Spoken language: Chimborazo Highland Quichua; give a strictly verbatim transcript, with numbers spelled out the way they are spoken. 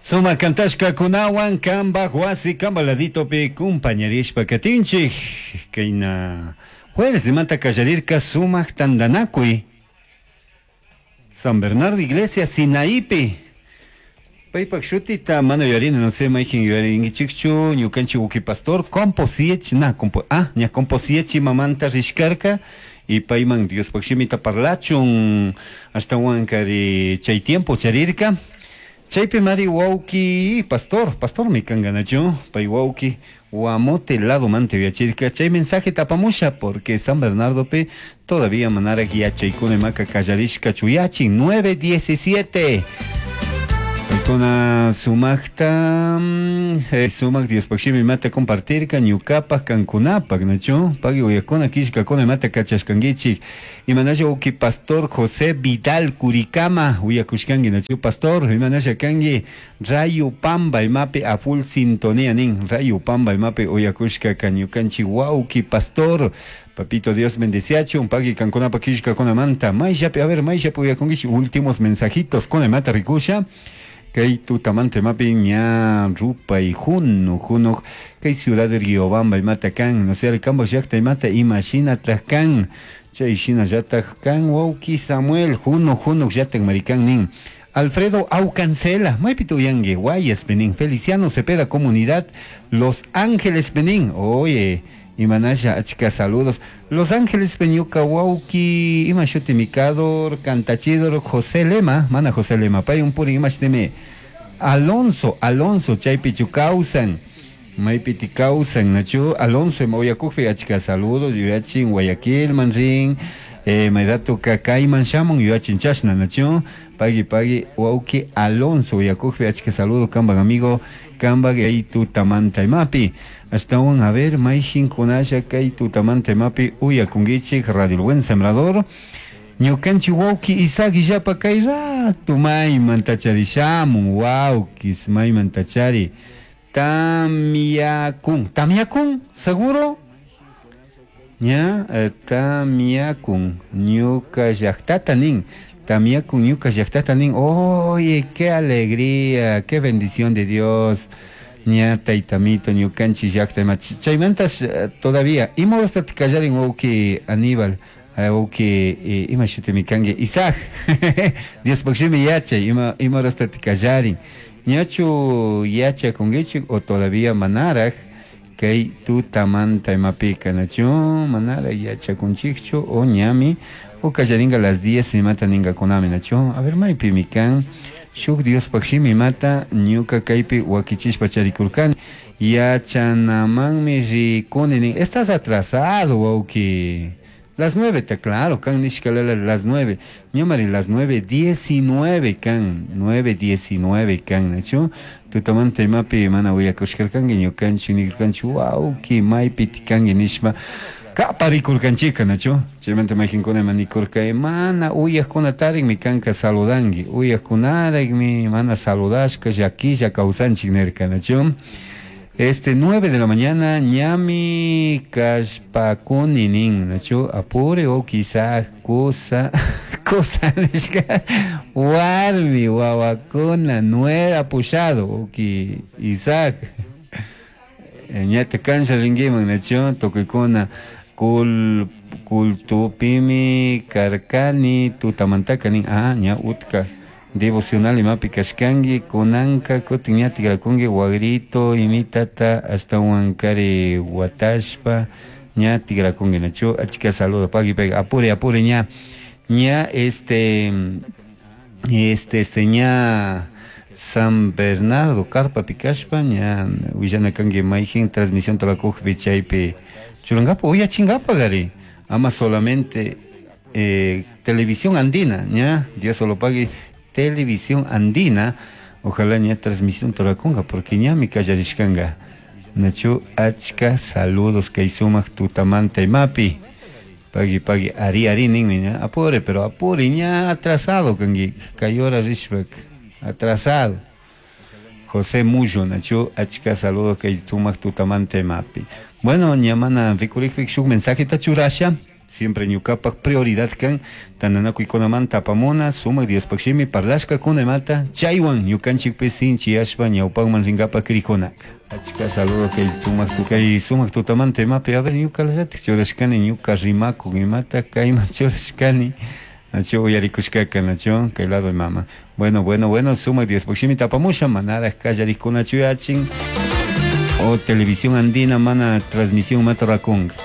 Sumak kantashkakunawan kambaj wasi kamba laditopi kumpañarishpa katinchik. Kayna jueves imata kallarirka sumak tantanakuy San Bernardo Iglesia Sinaipi. Paypak shutita mana yuyarini, no sé, mayjin yuyarinkichikchu, ñukanchik uki pastor composiech na compo, ah, ña composiech mamanta rishkarka y payman Diospaj shimita parlachun ashtawankari chay tiempo charirka. Chaypi mari wawki pastor, pastormi kanka nachu, pay wawki Guamote lado manta yuyachirka chay mensaje apamusha porque San Bernardopi todavía manaraj yachaykuna imaka kallarishka chuyachin nueve diecisiete. Paykuna sumakta eh, sumak Diospaj shimi imata compartirka ñukapak kankunapak nachu pagui uyakuna killkakuna imata kachashkankichik imanasha uki pastor José Vidal Curicama uyakushkanki nachu pastor imanasha kanki Rayo Pamba imapi a full sintonía nin Rayo Pamba imapi uyakushka ñukanchik wawki pastor. Papito Dios bendeciachun, pagui kankunapa killkakunamanta mayllapi, a ver, mayllapi uyakunkichik. Últimos mensajitos kuna imata rikusha kay tutamanta imapi ña rupay junu junu kay ciudad de Riobamba imata kan, no sé, kambaj llakta imata imashinataj kan chay shinallataj kan wawki Samuel junu junu llatak marikan nin. Alfredo Aucancela, maypi uyanki Guayas nin. Feliciano Cepeda, comunidad Los Ángeles nin. Oye, imanasha, achka saludos. Los Ángeles ñuka wawki ima shuti mikador kantachidor José Lema, mana José Lema, pay un puri ima shutimi Alonso, Alonso chaypichu kawsan. Maypiti kawsan nachu Alonso ima uyakukpi achka saludos yuyachin Guayaquil man rin eh, mayratuka kayman shamun yuyachin chashna nachu pagui pagui wawki Alonso uyakukpi achka saludo kambak amigo kambak ay tutamanta imapi ashtawan. A ver, mayjinkunalla kay tutamanta imapi uyakunkichik Radio El Buen Sembrador. Ñukanchik wawki Isaac illapa kay rato maymanta charishamun wawkis maymanta chari tamyakun tamyakun seguro ña eh, tamyakun ñuka llaktata nin tamyakun ñuka llaktata nin. Oye, qué alegría, qué bendición de Dios, ña taytamito ñukanchik llakta ima chaymantas eh, todavía ima horastati kallarin wawki Aníbal eh, wawki eh, ima shutimi kanki Isaac Diospaj shimi yachay ima ima horastati kallarin ñachu yachakunkichik o todavía manaraj kay tutamanta imapika nachu manaraj yachakunchikchu o ñami o kallarinka las diez imata ninkakunami nachu. A ver, maypimi kan shuk Diospaj shimi imata ñuka kaypi wakichishpa charikurkani yachanamanmi rikuni nin. Estás atrasado, wawki. Las nueve, está claro, kan nishkalala las nueve. Ñamari las nueve diecinueve kan, nueve diecinueve kan, nachu. Tutamanta imapi mana uyakushkarkanki ñukanchik nirkanchik wawki maypi kanki nishpa kaparikurkanchika nachu. Chaymanta mayjinkuna ima nikurka mana uyakkunatarikmi kanka saludanki uyakkunarikmi mana saludashka llakilla kawsanchik nirka nachu. Este, nueve de la mañana, ñami kashpakuni nin, nachu, apure o quizás cosa, cosa nishka, warmi, wawakuna, nuera pushado, o Isaac. Ñata kancha rinkiman, nachu, tukuykuna, kul, kultupimi karkani, tutamantaka nin, ah, ña utka devocional imapi kashkanki kunanka kutin ña tikrakunki wagrito imitata ashtawankari watashpa ña tikrakunki nachu achka saludo pagui pagui apure apure ña ña este este este ña San Bernardo carpapi kashpa ña willana kanki mayjin transmisión turakukpi chaypi churankapa uyachinkapak ari ama solamente eh, Televisión Andina ña Dios solo pague Televisión Andina ojalá ña transmisión turakunka porque ñami kallarishkanka nachu achka saludos kay sumak tutamanta imapi pagui pagui ari ari ninmi ña apure pero apure ña atrasado kanki kay hora rishpak atrasado. José Mullo nachu achka saludos kay sumak tutamanta imapi. Bueno, ña mana rikurikpik shuk mensajeta churasha. Siempre ñukapak prioridad kan tantanakuykunamanta apamuna sumak Diospaj shimi parlashkakuna imata chaywan ñukanchikpi sinchiyashpa ñawpakman rinkapak krikunaka. Achka saludo kay sumak kay sumak tutamanta imapi, a ver, ñukallatik churashkani ñuka rimakuk imata kayman churashkani, nachu uyarikushkaka, nachu kay lado mama. Bueno, bueno, bueno, sumak Diospaj shimita apamusha, manaraj kallarikkunachu yachin o Televisión Andina mana transmisión mata rakunga.